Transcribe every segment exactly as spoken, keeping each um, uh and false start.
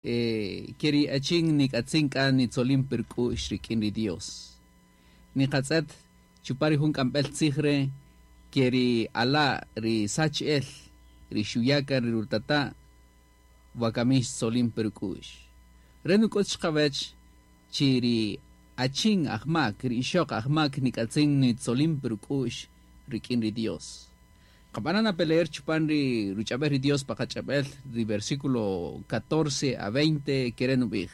Eh, keri achin nik'atzin k'a nitzolin perk'u'x rik'in ri Dios. Niqatz'et chupari jun k'amb'el tzij re' keri ala' ri sach'el ri xuyaka ri rutata' wakami xtzolin perk'u'x. Re nuk'ut xqawech chi ri achin ajmak ri ixoq ajmak nik'atzin nitzolin perk'u'x rik'in ri Dios. Qab'anan peleer chupan ri ruch'ab'el ri Dios pa qach'ab'el ri versículo catorce a veinte kere nub'ij.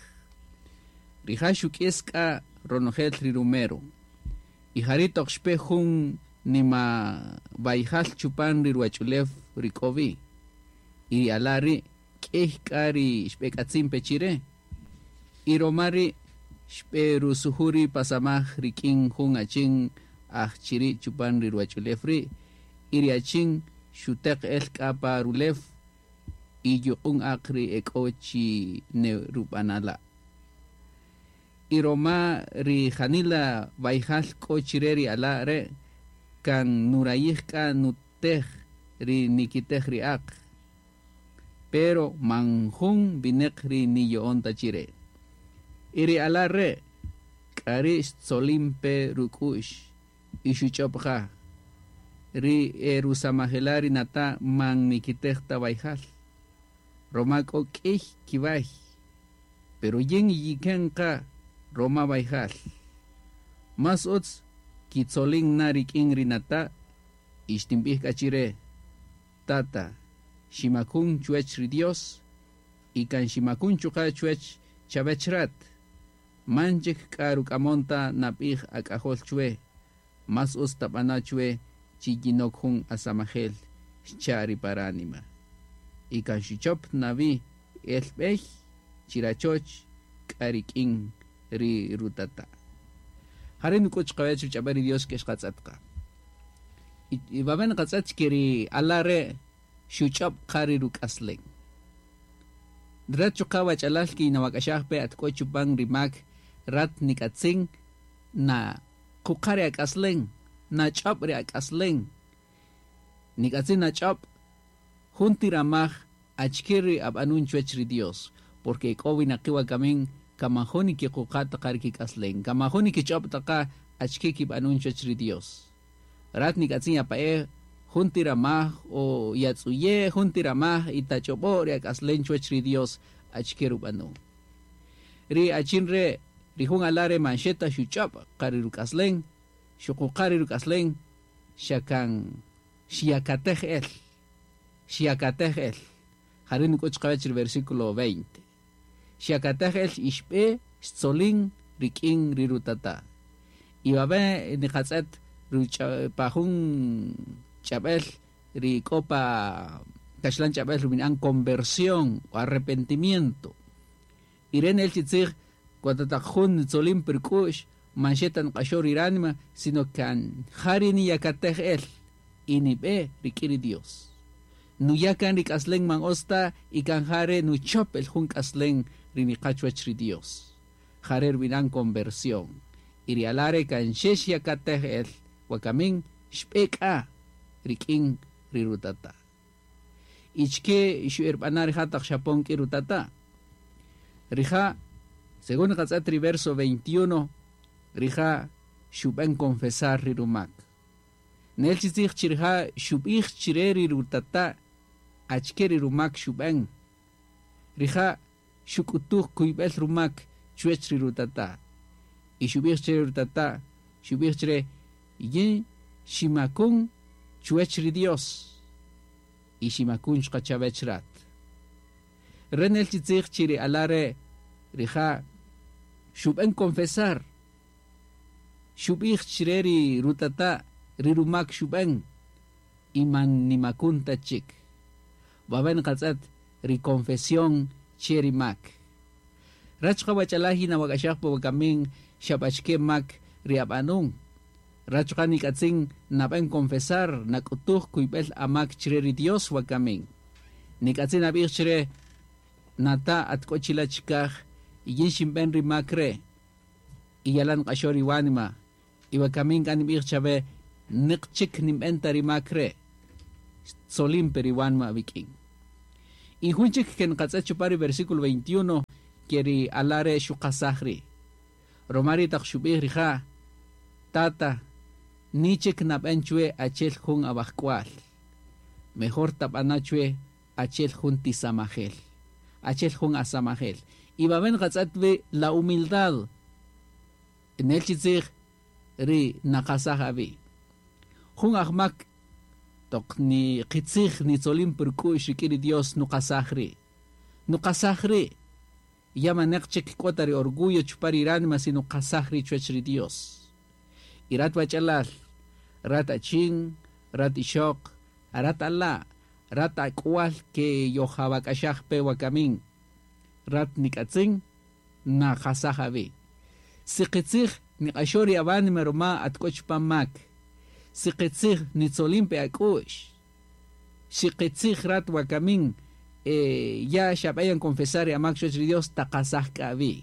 Rija' xuk'is k'a ronojel ri rumero. Y jari' toq xpe jun nima wayjal chupan ri ruwach'ulew ri k'o wi. Y ri ala' ri' k'ey k'a ri xb'ek'atzin pe chire. Y roma ri' xb'e rusuju ri pasamaj rik'in jun achin aj chiri' chupan ri ruwach'ulew ri'. Y ri achin xuteq el k'a pa rulew y yuq'un aq ri ek'o chi nerub'anala'. Y roma ri janila wayjal k'o chire ri ala' re' kan nurayij k'a nutej ri nikitej ri aq. Pero man jun vineq ri niyo'on ta chire. Y ri ala' re' k'ari xtzolin pe ruk'u'x y xuch'ob' qa. Ri erusamajela ri nata man nikitej ta wayjal. Roma k'o k'ey kiway. Pero yin yiken qa roma wayjal. Mas utz kitzolin na rik'in ri nata y xtinb'ij k'a chire. Tata, ximakun chuwech ri Dios y kan ximakun chuqa' chuwech chavech rat. Manchik k'a ruk'amonta nab'ij ak'ajol chwe. Mas utz tab'ana chwe chi yinok jun asamajel xcha' ri paránima. Y kan xuchop nawi el b'ey chirachoch k'a rik'in ri rutata. Jare' nuk'ut xqawech ruch'ab'el ri Dios ke xqatz'et qa. Y wawe' nqatz'et ke ri ala' re' xuch'ob' qa ri ruk'aslen. Rat chuqa' wach'alal ki nawak'axaj pe at k'o chupan ri mak rat nik'atzin na quqa' ri ak'aslen, na ch'ob' ri ak'aslen. Nik'atzin na ch'ob' jun tiramaj achike ri ab'anun chuwech ri Dios, porque k'o winaqi' wakamin kamajun kiquqa' taqa ri kik'aslen, kamajun kich'ob' taqa achike kib'anun chuwech ri Dios. Rat nik'atzin yapa'e jun tiramaj o yatz'uye jun tiramaj y tach'ob'o ri ak'aslen chuwech ri Dios achike rub'anun. Ri achin re' ri jun ala' re man xeta xuch'ob' qa ri ruk'aslen, xuquqa' ri ruk'aslen, xakan xyakatej el, xyakatej el. Jare' nuk'ut xqawech ri versículo veinte. Xyakatej el ixb'e xtzolin rik'in ri rutata. Y wawe' niqatz'et pa jun ch'ab'el ri k'o pa kaxlan ch'ab'el rub'ini'an conversión o arrepentimiento. Y re' nel chi tzij cuando taq jun nitzolin perk'u'x man xeta nq'axo ri ránima, sino kan jari niyakatej el y nib'e rik'in ri Dios. Nuyakan ri k'aslen man osta y kan jare nuchop el jun k'aslen ri niqa chuwech ri Dios. Jare rub'ini'an conversión. Y ri ala' re' kan xex yakatej el wakamin xb'e k'a rik'in ri rutata. Ichke xu'erb'ana rija' taq xapon k'i rutata. Rija', según qatz'et ri verso veintiuno, rija' xub'en confesar ri rumak. Nel chi tzij chi rija' xub'ij chire ri rutata achike ri rumak xub'en. Rija' xuk'utuj kuyb'el rumak chuwech ri rutata. Y xub'ij chire ri rutata, xub'ij chire yin ximakun chuwech ri Dios y ximakun xqachavech rat. Re nel chi tzij chi ri ala' re' rija' xub'en confesar. Xub'ij chire ri rutata ri rumak xub'en y man nimakun ta chik. Wawe' nqatz'et ri confesión che ri mak. Rat chuqa' wach'alaj nawak'axaj pa wakamin xab'achike mak ri ab'anun. Rat chuqa' nik'atzin nab'en confesar nak'utuj kuyb'el amak chire ri Dios wakamin. Nik'atzin nab'ij chire nata at k'o chila' chikaj y yin xinb'en ri mak re' y yalan q'axo ri wanima y wakamin k'a nib'ij chawe niq chik ninb'en ta ri mak re' xtzolin pe ri wanima wik'in. Y jun chik ke nqatz'et chupan ri versículo veintiuno ke ri ala' re' xuqasaj ri'. Ruma ri' taq xub'ij rija': "Tata, ni chik nab'en chwe achel jun awajk'wal. Mejor tab'ana' chwe achel jun tisamajel, achel jun asamajel." Y wawe' nqatz'et wi la humildad. Nel chi tzij ri naqasaj awi'. Jun ajmak toq ni qitzij nitzolin pe ruk'u'x rik'in ri Dios nuqasaj ri'. Nuqasaj ri'. Ya maneq chik k'o ta ri orgullo chupan ri ránima si nuqasaj ri' chuwach ri Dios. Y rat wach'alal, rat achin, rat ixoq, rat ala', rat ak'wal ke yojawak'axaj pe wakamin, rat nik'atzin naqasaj awi'. Si qitzij niq'axo ri awánima ruma at k'o chupan mak. Si qitzij nitzolin pe ak'u'x. Si qitzij rat wakamin eh, ya xab'ayan confesar ri amak chuwach ri Dios, taqasaj k'a awi'.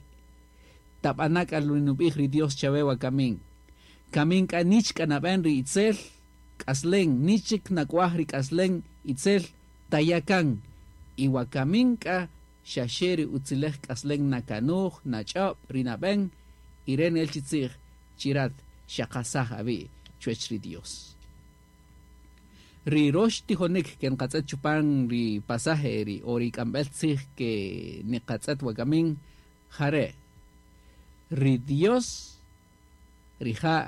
Tab'ana' k'a nub'ij ri Dios chawe wakamin. Kamin k'a nich k'a nab'en ri itzel k'aslen, nichik nak'waj ri k'aslen itzel tayakan. Y wakamin k'a xaxe ri utzilej k'aslen nakanuj, nach'ob', ri nab'en, y re nel chi tzij chirat xaqasaj awi' chuwach ri Dios. Ri rox tijonik ke nqatz'et chupan ri pasaje ri o ri k'amb'el tzij ke niqatz'et wakamin jare'. Ri Dios rija'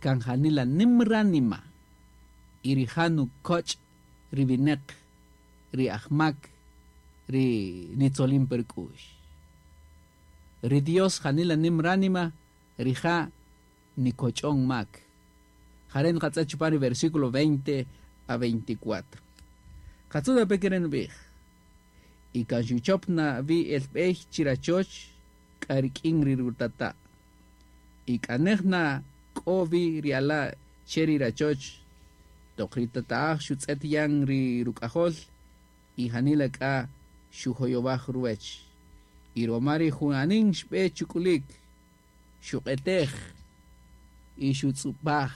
kan janila nim ránima y rija' nukoch' ri wineq, ri ajmak, ri nitzolin pe ruk'u'x. Ri Dios janila nim ránima, rija' nikoch'on mak. Jare' nqatz'et chupan ri versículo veinte a veinticuatro. Qatzuda pe kere nub'ij. Y kan xuchop na vi el b'ey chirachoch k'a rik'in ri rutata'. Y k'anej na k'o vi ri ala' che ri rachoch toq ri tata'aj xutz'et yan ri ruk'ajol y janila k'a xujoyowaj ruwech. Y roma ri junanin xb'e chuk'ulik, xuq'etej y xutz'ub'aj.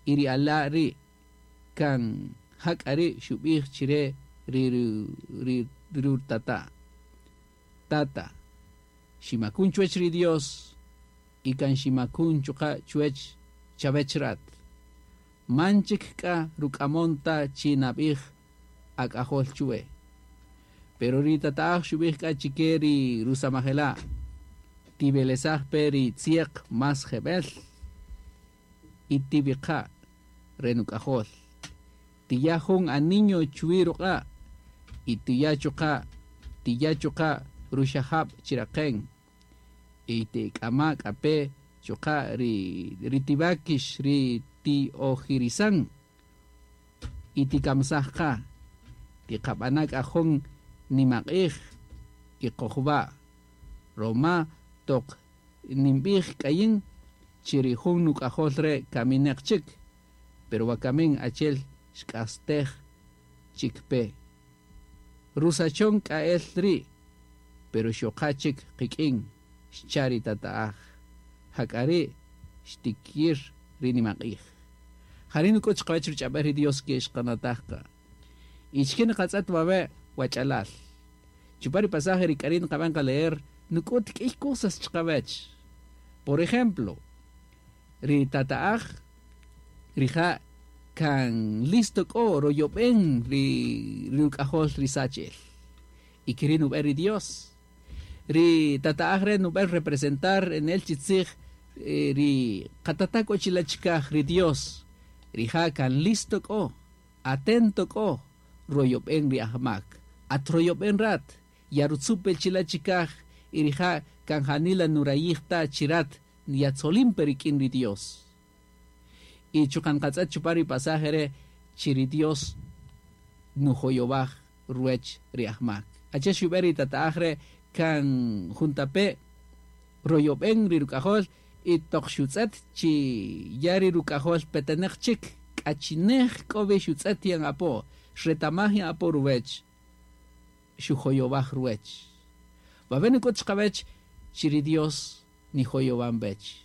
Y ri ala' ri' kan jak'a ri' xub'ij chire ri ri rutata': "Tata, ximakun chuwech ri Dios y kan ximakun chuqa' chuwech chawech rat. Man chik k'a ruk'amon ta chi nab'ij ak'ajol chuwe." Pero ri tata'aj xub'ij k'a chike ri rusamajela': "Tib'elesaj pe ri tzieq mas jeb'el y tib'iqa' re nuk'ajol. Tiya jun aniño chuwi ruq'a' y tiya chuqa' tiya chuqa' ruxajab' chiraqen. Y tik'ama k'a pe chuqa' ri ri tibakix ri ti'ojirisan y tikamsaj qa. Tiqab'ana k'a jun nimaq'ij y qojwa' roma toq ninb'ij k'ayin chi ri jun nuk'ajol re' kamineq chik, pero wakamin achel xk'astej chik pe. Rusachon k'a'el ri', pero xoqa chik qik'in, xcha' ri tata'aj. Jak'a ri' xtikir ri nimaq'ij." Jari' nuk'ut chiqawach ruch'ab'al ri Dios ke xqanataj qa. Y chike nqatz'et wawe' wach'alal. Chupan ri pasaje ri k'ari' nqab'an qa leer, nuk'ut k'iy cosas chiqawach. Por ejemplo, ri tata'aj rija' kan listo k'o royob'en ri ruk'ajol ri sachel. Y kiri' nub'en ri Dios. Ri tata'aj re' nub'en representar en el chi tzij ri qatata' k'o chila' chikaj ri Dios. Rija' kan listo k'o, atento k'o, royob'en ri ajmak. At royob'en rat, yarutzupel chila' chikaj, y rija' kan janila nurayij ta chirat yatzolin pe rik'in ri Dios. Y chukan qatz'et chupan ri pasaje re' chi ri Dios nujoyowaj ruwech ri ajmak. Ache xub'en ri tata'aj re' kan juntape' royob'en ri ruk'ajol y toq xutz'et chi ya ri ruk'ajol peteneq chik k'achinej k'o wi xutz'et yan apo, xretamaj yan apo ruwech, xujoyowaj ruwech. Wawe' nuk'ut chiqawech chi ri Dios nijoyowan wech.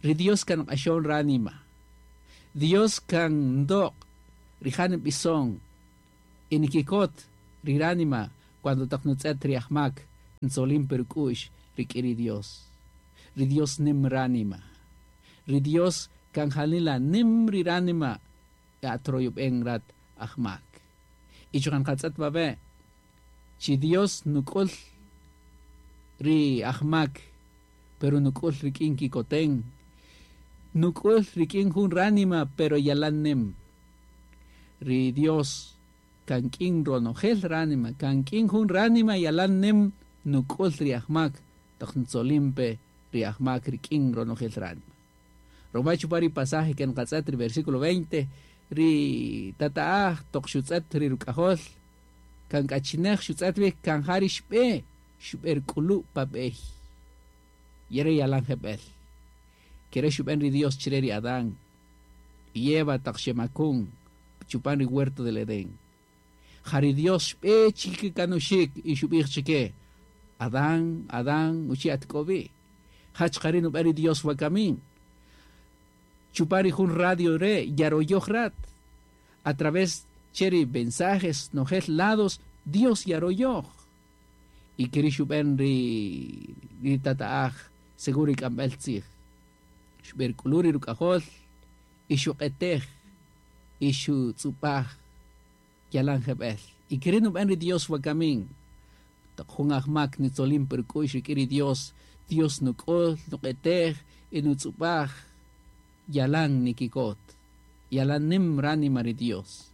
Ri Dios kan q'axon ránima. Dios kan ndoq', rija' nb'ison, y nikikot ri ránima cuando taq nutz'et ri ajmak ntzolin pe ruk'u'x rik'in ri Dios. Ri Dios nim ránima. Ri Dios kan janila nim ri ránima atroyob'en rat ajmak. Y chuqa' nqatz'et wawe' chi Dios nuk'ul ri ajmak, pero nuk'ul rik'in kikoten. Nuk'ul rik'in jun ránima, pero yalan nim. Ri Dios kan k'in ronojel ránima, kan k'in jun ránima yalan nim nuk'ul ri ajmak, taq ntzolin pe ri ajmak rik'in ronojel ránima. Roma chupa ri pasaje que nqatz'et ri versículo veinte, ri tata'aj toq xutz'et ri ruk'ajol, kan k'achinej xutz'et wi kan ja ri xb'e, xb'e ruk'ulu' pa b'ey. Yere yalan jeb'el. Kere xub'en ri Dios chire ri Adán y Eva taq xemakun chupan ri huerto del Edén. Ja ri Dios xb'e chikikanuxik y xub'ij chike, Adán, Adán, uchi atk'obi. Jach qari nub'en ri Dios wakamin. Chupan ri jun radio re yaroyoj rat. A través cheri mensajes nojel lados, Dios yaroyoj. Y keri xub'en ri, ri tata'aj seguro ik'amb'el tzij. Xb'er k'uluri ruk'ajol y xuq'etej y xutz'upaj yalan jeb'el. Y keri nub'en ri Dios wakamin. Taq jun ajmak nitzolin per k'u'x rik'in ri Dios, Dios nuk'ul, nuq'etej y nutz'upaj yalan nikikot. Yalan nim ránima ri Dios.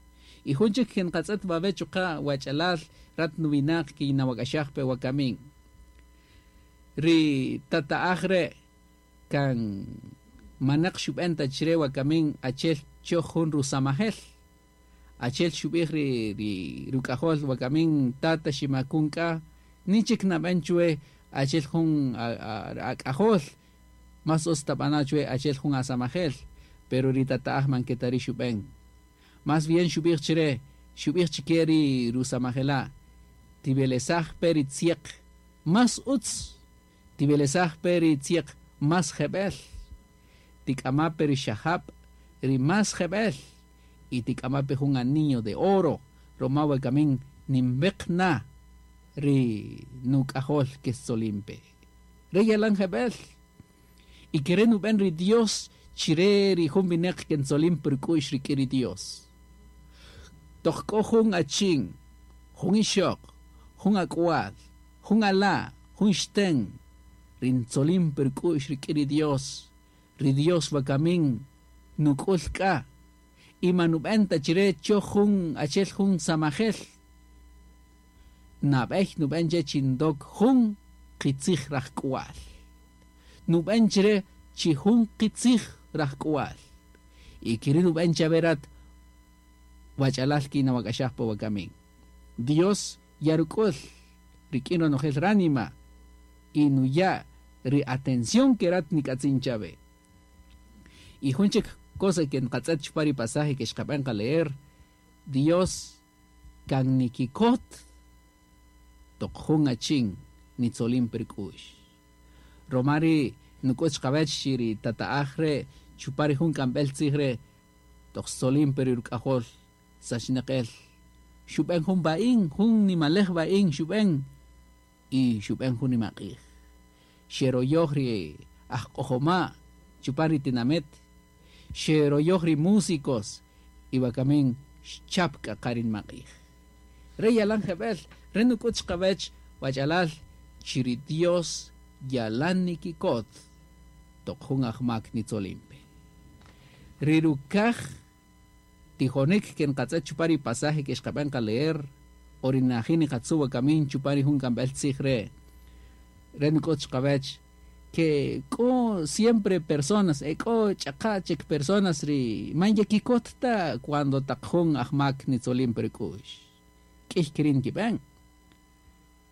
Y jun chik nqatz'et wawe' chuqa' wach'alal rat nuwinaq kinawak'axaj pe wakamin. Ri tata'aj re' kan manaq xub'en ta chire wakamin achel choj jun rusamajel. Achel xub'ij ri, ri ruk'ajol wakamin tata ximakun k'a nichik nab'en chwe achel jun ak'ajol mas utz tab'ana chwe achel jun asamajel, pero ri tata'aj man ketari xub'en. Más bien xub'ij chire, xub'ij chike ri rusamajela, tibelesaj pe ri tzieq mas utz, tibelesaj pe ri tzieq mas jeb'el, tik'ama pe ri xajab' ri mas jeb'el, y tik'ama pe jun anillo de oro, roma wakamin nimbeq na ri nuk'ajol ke tzolimpe. Re yalan jeb'el. Y kere nub'en ri Dios chire ri jun wineq ke ntzolim per k'u'x rik'in ri Dios. Toq k'o jun achin, jun ixoq, jun ak'wal, jun ala, jun xten, ri ntzolim per k'u'x rik'in ri Dios, ri Dios wakamin nuk'ul k'a, y manub'en ta chire choj jun achel jun samajel. Nab'ej nub'en che chindok jun qitzij rajk'wal. Nub'en chire chi jun qitzij rajk'wal. Y kiri nub'en chaverat wach'alal kinawak'axaj pa wakamin. Dios yaruk'ul rik'in ronojel ránima y nuya ri atención que rat nik'atzin chave. Y jun chik cosa que nqatz'et chupa ri pasaje que xqab'en qaleer, Dios kan nikikot toq jun achin nitzolin per k'u'x. Romari nuk'ut xqab'ech chi ri tata'aj re chupa ri jun k'amb'el tzij re toq tzolin per ruk'ajol sachnaqel. Xub'en jun ba'in, jun nimalej ba'in xub'en y xub'en jun nimaq'ij. Xeroyoj ri ajq'ojoma' chupa ri tinamet, xeroyoj ri músicos y wakamin xchap k'aqarin maq'ij. Re yalan jeb'el, re nuk'ut xqab'ech wach'alal chi ri Dios yalan nikikot toq jun ajmak nitzolimpe. Ri rukaj tijonik ke nqatz'et chupa ri pasaje ke xqab'en qaleer o ri najin niqatzu wakamin chupa ri jun k'amb'el tzij re. Re nuk'ut xqab'ech que k'o siempre personas, e k'o ch'aqa chik personas ri man yakikot ta cuando taq jun ajmak nitzolin per k'u'x. K'ij kirin kib'en.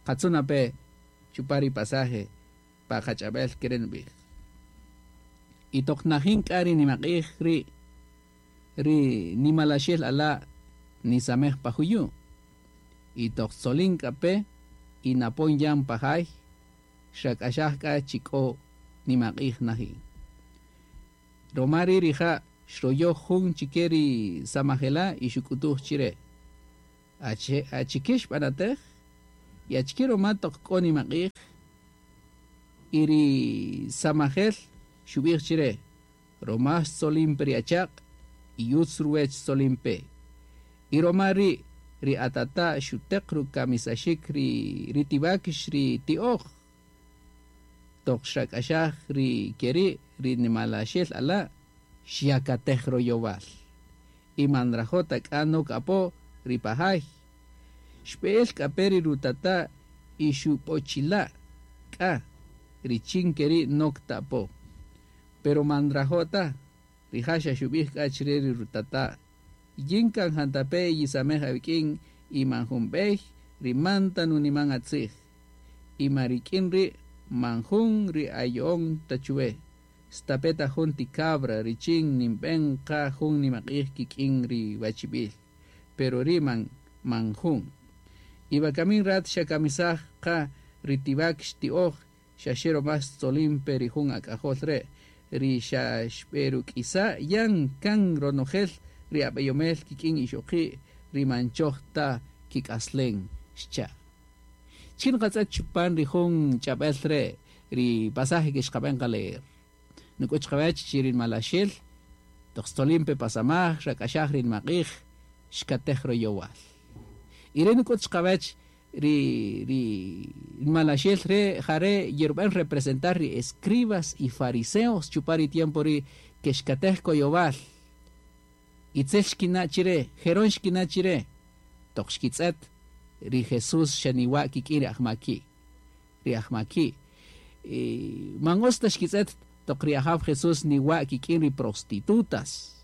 Qatzuna pe chupa ri pasaje pa qach'ab'el keren b'ij. Y toq najin k'a ri nimaq'ij ri ri nimalaxel ala nisamej pa juyu. Y toq tzolin k'a pe y napon yan pajay xak'axaj k'a chik'o nimaq'ij najin. Romari rija' xroyoj jun chike ri samajela y xuk'utuj chire. Achike xb'anatej y achike roma toq k'o nimaq'ij y ri samajel xub'ij chire roma xtzolin pe ri achaq' y utz ruwech xtzolin pe y roma ri' ri atata' xuteq rukamisaxik ri ri tiwakx ri ti'oj toq xrak'axaj ri keri' ri nimalaxel ala' xyakatej royowal y man nrajo' ta k'a nok apo ri pajay xb'e'el k'a pe ri rutata' y xub'ochila' k'a richin keri' nok ta apo pero man nrajo' ta rija' xa xub'ij k'a chire ri rutata' yin kan jantape' yisamej awik'in y man jun b'ey ri man ta nuniman atzij y man rik'in ri' man jun ri ayo'on ta chuwe stape' ta jun ti cabra richin ninb'en qa jun nimaq'ij kik'in ri wachib'il pero ri' man man jun y wakamin rat xakamisaj qa ri tiwakx ti'oj xaxe roma xtzolin pe ri jun ak'ajol re' ri xa xb'eruk'isa' yan kan ronojel ri ab'eyomel kik'in ixoqi' ri man choj ta kik'aslen xcha'. Chin qatz'et chupan ri jun ch'ab'el re' ri pasaje que xqab'en qaleer. Nuk'uch qawech chi ri malaxel toq xtzolin pe pasamaj xrak'axaj ri nimaq'ij xkatej royowal. Y re nuk'uch qawech ri ri malaxel re jare yerub'en representar ri escribas y fariseos chupan ri tiempo ri que xkatej koyowal. Itzel xkina' chire, jeron xkina' chire, toq xkitz'et ri Jesús xaniwa' kik'in ri ajmaki', ri ajmaki'. Man utz ta xkitz'et toq ri ajaw Jesús niwa' kik'in ri prostitutas,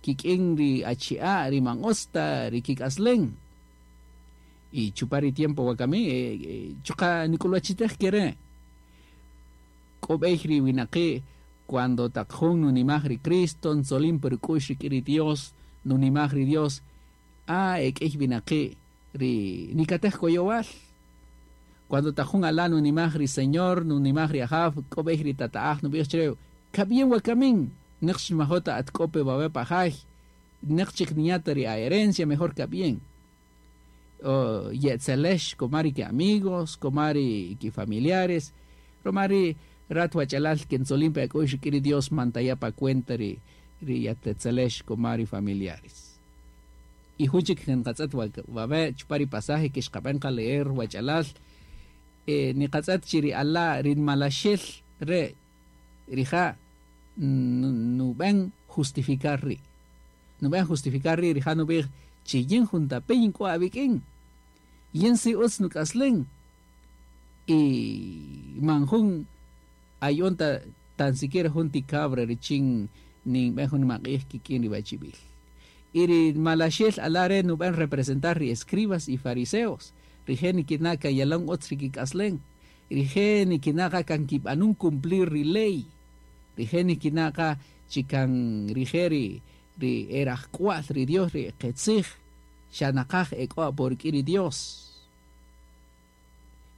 kik'in ri achi'a' ri man utz ta ri kik'aslen. Y chupan ri tiempo wakami, chuqa' nik'ulwachitej kere'. K'o b'ey ri winaqi' cuando taq jun nunimaj ri Cristo, ntzolin pe ruk'u'x rik'in ri Dios, nunimaj ri Dios, ah, ek'ey winaqi' ri nikatej koyowal. Cuando taq jun ala' nunimaj ri Señor, nunimaj ri ajaw, k'o b'ey ri tata'aj nub'ij chire, kab'ien wakamin, neq xmajota at k'o pe wawe pajay, neq chik niñata ri a herencia, mejor kab'ien. O yetzelex komari ki amigos, komari ki familiares, romari rat wachalal que ntzolin pe ak'u'x rik'in ri Dios man taya' pa cuenta ri ri yatetzelex komari familiares. Y jun chik nqatz'et wawe chupan ri pasaje que xqab'en qaleer wachalal, eh, niqatz'et chi ri ala' ri malaxel re rija' nub'en justificar ri'. Nub'en justificar ri' rija' nub'ij chi yin juntape yin k'o awik'in. Yin si utz nuk'aslen. Y man jun ayon ta tan siquiera jun ti cabra richin ninb'en jun nimaq'ij kik'in ri wachib'il. Y ri malaxel ala' re' nub'en representar ri escribas y fariseos. Rije' nikina' kan yalan utz ri kik'aslen. Rije' nikina' qa kan kib'anun cumplir ri ley. Rije' nikina' qa chi kan rije' ri ri erajk'wa'l ri Dios ri qetzij xa naqaj ek'o apo rik'in ri Dios.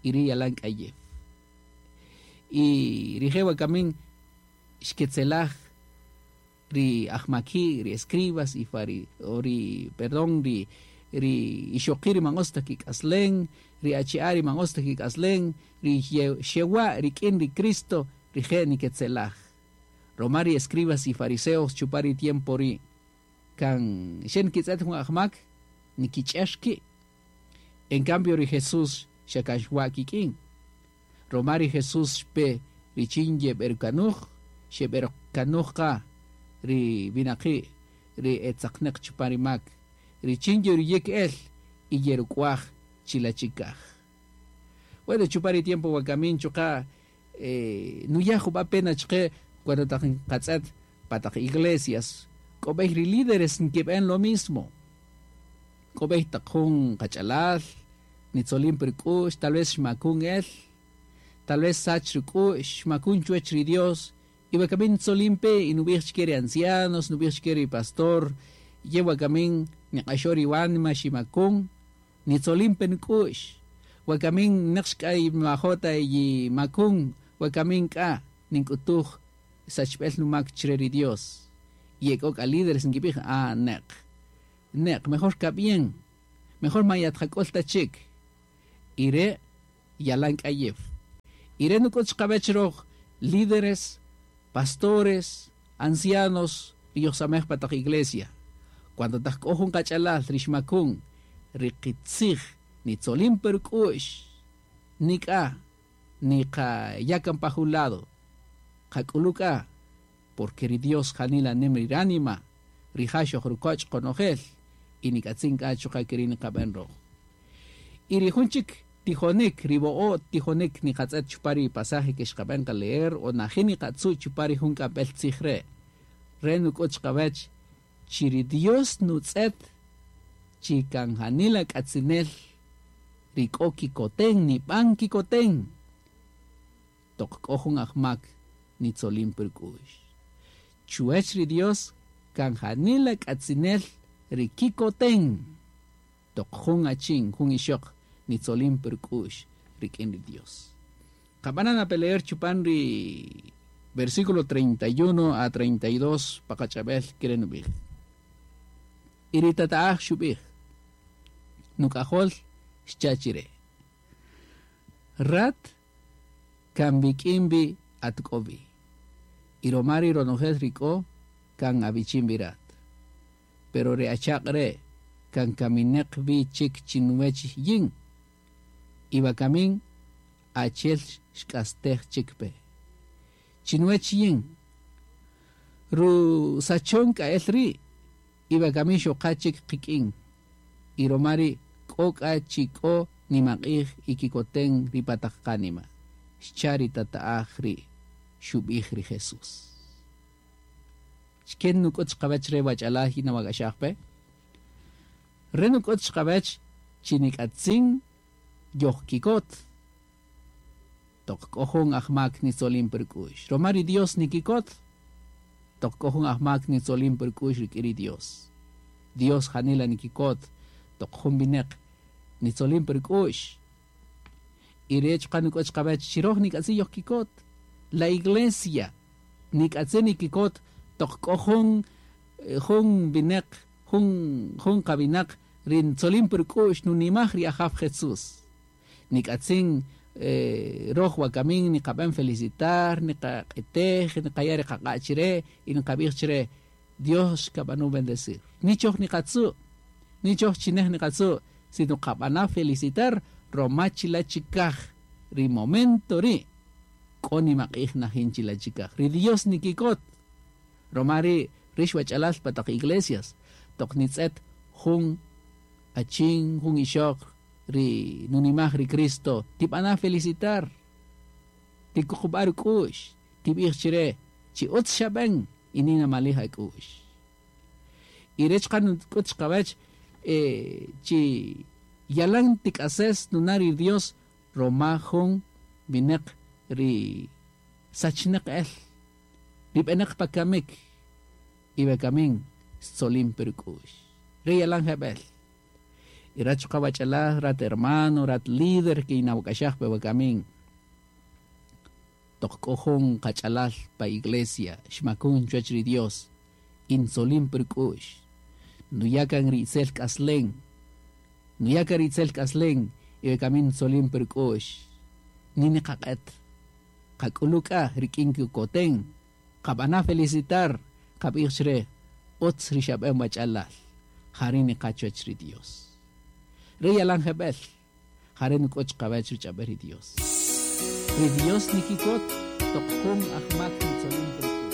Y ri yalan k'ayew. Y rije' wakamin xketzelaj ri ajmaki', ri escribas y fari, o ri, perdón, ri ri ixoqi' ri man utz ta kik'aslen, ri achi'a' ri man utz ta kik'aslen, ri xewa' rik'in ri Cristo, rije' niketzelaj. Roma ri escribas y fariseos chupan ri tiempo ri' kan xe nikitz'et jun ajmak nikich'ex ki'. En cambio ri Jesús xa kan xwa' kik'in. Roma ri Jesús xpe richin yeb'erkanuj, xeb'erkanuj qa ri winaqi' ri etzaqneq chupan ri mak, richin yeruyek el y yeruk'waj chilachikaj. Bueno, chupan ri tiempo wakamin chuqa' eh, nuya' jub'a' pena chqe cuando taq nqatz'et pa taq iglesias, k'o b'ey ri líderes nkib'en lo mismo. K'o b'ey taq jun qach'alal, nitzolin pe ruk'u'x, tal vez xmakun el, tal vez sach ruk'u'x, xmakun chuwech ri Dios, y wakamin ntzolin pe y nub'ij chike ri ancianos, nub'ij chike ri pastor, ye wakamin niq'axo ri wanima ximakun, nitzolin pe nk'u'x, wakamin neq xk'a majota yi makun, wakamin k'a nink'utuj sachb'el numak chire ri Dios. Y ek'o k'a líderes nkib'ij, ah, neq, neq, mejor kab'ien, Mejor ma yatqak'ul ta chik. Y re' yalan k'ayew. Y re' nuk'ut xqab'ech roj líderes, pastores, ancianos, ri yojsamej pa taq iglesia. Cuando taq k'o jun qach'alal ri xmakun, ri qitzij nitzolin per k'u'x, nik'a niqa yakan pa jun lado, qak'uluk'a, porque ri Dios janila nim ri ránima, rija' xojrukoch' qonojel, y nik'atzin k'a chuqa' keri' niqab'an roj. Y ri jun chik tijonik, ri bo'o tijonik niqatz'et chupa ri pasaje que xqab'an qa leer o najin niqatzu' chupa ri jun k'amb'el tzij re'. Re nuk'ut xqab'ech chi ri Dios nutz'et chi kan janila k'atzinel ri k'o kikoten nib'an kikoten toq k'o jun ajmak nitzolin per k'u'x. Chuwech ri Dios kan janila k'atzinel ri kikoten toq jun achin jun ixoq nitzolin per k'u'x rik'in ri Dios. Qab'anan a pelear chupan ri versículo treinta y uno a treinta y dos paqach'ab'el kirenub'ij. Y ri tata'aj xub'ij nuk'ajol xchachire. Rat kan bik'in bi atk'obi. Y romari ronojel rik'o kan abichin birat. Pero re achaq re kan kamineq bi chik chinwech yin. Iba kamin achel xk'astej chikpe. Chinwech yin. Ru sachon ka'el ri iba kamin xoqa chik qik'in. Y romari k'ok'a chik'o nimaq'ij y kikoten ripataq qanima. Xchari tata'aj ri xub'ij ri Jesús. Xken nuk'ut xqab'ech re wach'alaj y nawak'axajpe. Re nuk'ut xqab'ech chinik'atzin yojkikot. Toq k'o jun ajmak nitzolin per k'u'x. Romari Dios nikikot. Toq k'o jun ajmak nitzolin per k'u'x rik'in ri Dios. Dios janila nikikot. Toq jun bineq nitzolin per k'u'x. Y re chuqa' nuk'ut xqab'ech chiroj nik'atzin yojkikot. La iglesia nik'atzin nikikot toq k'o jun jun bineq jun jun qabinaq ri ntzolin per k'u'x nunimaj ri Ajaw Jesús. Nik'atzin eh, roj wakamin niqab'an felicitar, niqaq'itej, niqaya' ri qaq'a' chire y niqab'ij chire Dios kab'anu bendecir. Nichoj niqatzu', nichoj chinej niqatzu', sino qab'ana felicitar roma chila chikaj ri momento ri k'o nimaq'ij najin chila chikaj. Ri Dios nikikot. Roma ri rix wach'alal pa taq iglesias toq nitz'et jun achin jun ixoq ri nunimaj ri Cristo tib'ana felicitar tikuqub'a ruk'u'x tib'ij chire chi utz xab'an y nina malij ak'u'x. Y rech qan k'ut xqab'ech eh, chi yalan tik'ases nunari Dios roma jun bineq ri sachneq el ri b'eneq pakamik y bekamin tzolin per k'u'x. Ri yalan jeb'el. Y rat chuqa wach'alaj, rat hermano, rat líder que inawak'axaj pe wakamin. Toq k'o jun qach'alal pa iglesia, xmakun chuwach ri Dios, intzolin per k'u'x. Nuyakan ri itzel k'aslen. Nuyakan ri itzel k'aslen, y bekamin tzolin per k'u'x. Nini qaq'et. Qak'uluk'a rik'in kikoten. Qab'ana felicitar, qab'ij chre, utz ri xab'en wach'alal. Jari niqachuach ri Dios. Ri yalan jeb'el, jari nuk'uch qab'ech ri ch'ab'ej ri Dios. Ri Dios nikikot, toq jun ajmak nitzolin per k'u'x.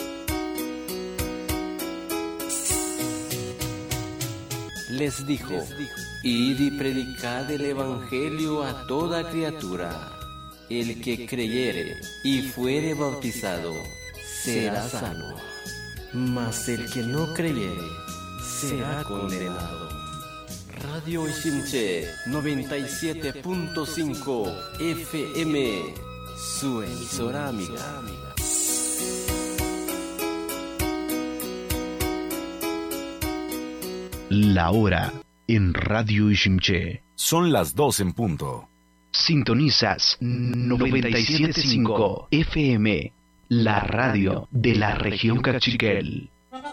Les dijo, id y predicad el evangelio a toda criatura. El que creyere y fuere bautizado, será salvo. Mas el que no creyere, será condenado. Radio Iximché noventa y siete punto cinco F M, su emisora amiga. La hora en Radio Iximché. Son las dos en punto. Sintonizas noventa y siete punto cinco F M, la radio de la región Cachiquel.